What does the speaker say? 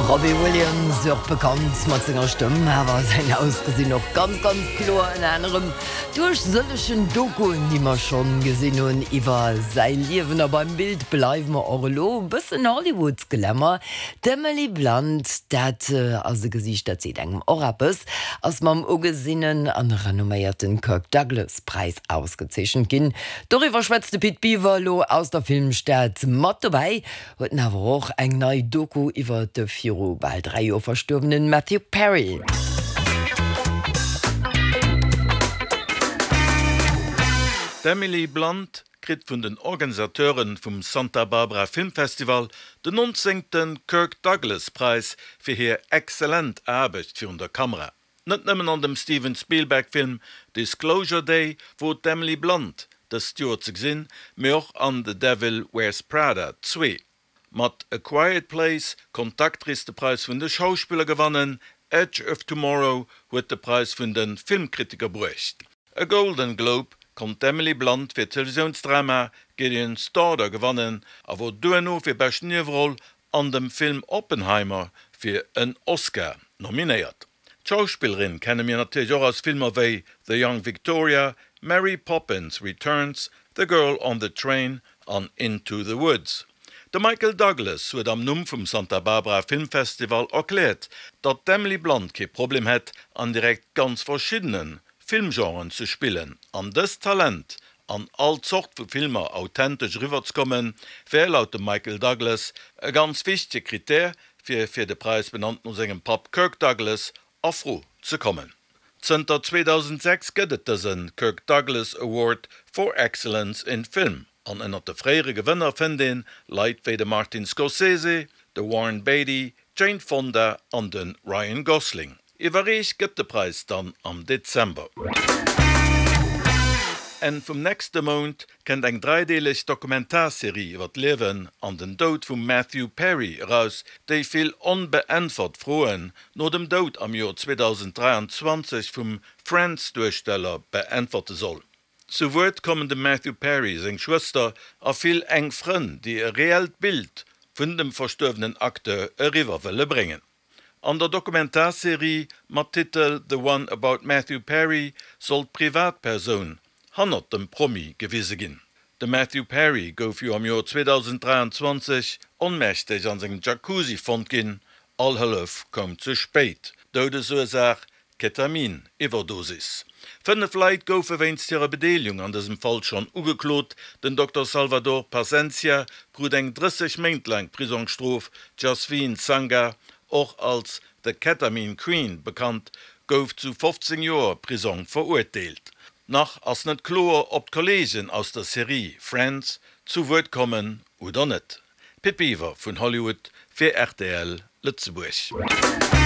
Robbie Williams, och bekannt mat senger Stëmm, awer säin Ausgesinn och ganz, ganz kloer, ënner anerem duerch sëllegen Dokuen, déi mer schonn gesinn hunn iwwer säi Liewen. A beim Bild bleiwe mer och elo, e bëssen Hollywood-Glamour. D'Emily Blunt, dat ass e Gesiicht, dat seet engem och eppes, ass mam ugesinnen an renomméierten Kirk Douglas Präis ausgezeechent ginn. Doriwwer schwätzt de Pit Biwer elo aus der Filmstad. Mat dobäi huet en awer och eng nei Doku iwwer de viru bal 3 Joer verstuerwenen Matthew Perry. D'Emily Blunt kritt vun den Organisateure vum Santa Barbara Filmfestival den 19. Kirk Douglas Präis fir hir exzellent Aarbecht virun der Kamera. Net nëmmen an dem Steven Spielberg Film Disclosure Day wor d'Emily Blunt dëst Joer ze gesinn, mee och an The Devil Wears Prada 2. Mat A Quiet Place konnt d'Actrice de Präis vun de Schauspiller gewannen, Edge of Tomorrow huet de Präis vun de Filmkritiker bruecht. E Golden Globe konnt d'Emily Blunt fir d'Televisiounsdrama Gideon's Daughter gewannen a wor duerno fir bescht Nieweroll an dem Film Oppenheimer fir en Oscar nominéiert. D'Schauspillerin kenne mir natierlech och aus Filmer wéi The Young Victoria, Mary Poppins Returns, The Girl on the Train an Into the Woods. De Michael Douglas huet am Numm vum Santa Barbara Filmfestival erkläert, datt d'Emily Blunt kee Problem hätt, an direkt ganz verschiddene Filmgenren ze spillen an dëst Talent an all Zort vu Filmer authentesch eriwwerzekommen, wär laut dem Michael Douglas e ganz wichtege Critère, fir fir de Präis, benannt no sengem Papp Kirk Douglas, a Fro ze kommen. Zënter 2006 gëtt et dëse Kirk Douglas Award for Excellence in Film an ënnert de fréiere Gewënner fënnt ee Leit wéi de Martin Scorsese, de Warren Beatty, d'Jane Fonda an de Ryan Gosling. Iwwerreecht gëtt de Präis dann am Dezember. Enn vum nächste Mount kënnt eng dräideeleg Dokumentarserie iwwer d'Liewen an den Doud vum Matthew Perry eraus, déi vill onbeäntwert Froen no dem Doud am Joer 2023 vum Friends-Duersteller beäntwerte soll. Zu Wuert kommen dem Matthew Perry seng Schwëster a vill enk Frënn, déi e reellt Bild vun dem verstuerwenen Acteur eriwwer wëlle bréngen. An der Dokumentarserie mat Titel The One About Matthew Perry soll d'Privatpersoun hannert dem Promi gewise ginn. De Matthew Perry gouf jo am Joer 2023 onmächteg an sengem Jacuzzi fonnt ginn. All Hëllef koum ze spéit. Doudesursaach, Ketamin-Iwwerdosis. 5 Leit goufe wéinst hirer Bedeelegung an dësem Fall schonn ugeklot. Den Dokter Salvador Pasencia krut eng 30 Méint laang Prisongsstrof, d'Jasveen Sangha, och als The Ketamine Queen bekannt, gouf zu 15 Joer Prisong verurteelt. Nach ass net kloer, ob d'Kolleegen aus der Serie Friends zu Wuert kommen oder net. Pit Biwer vun Hollywood fir rtl Lëtzebuerg.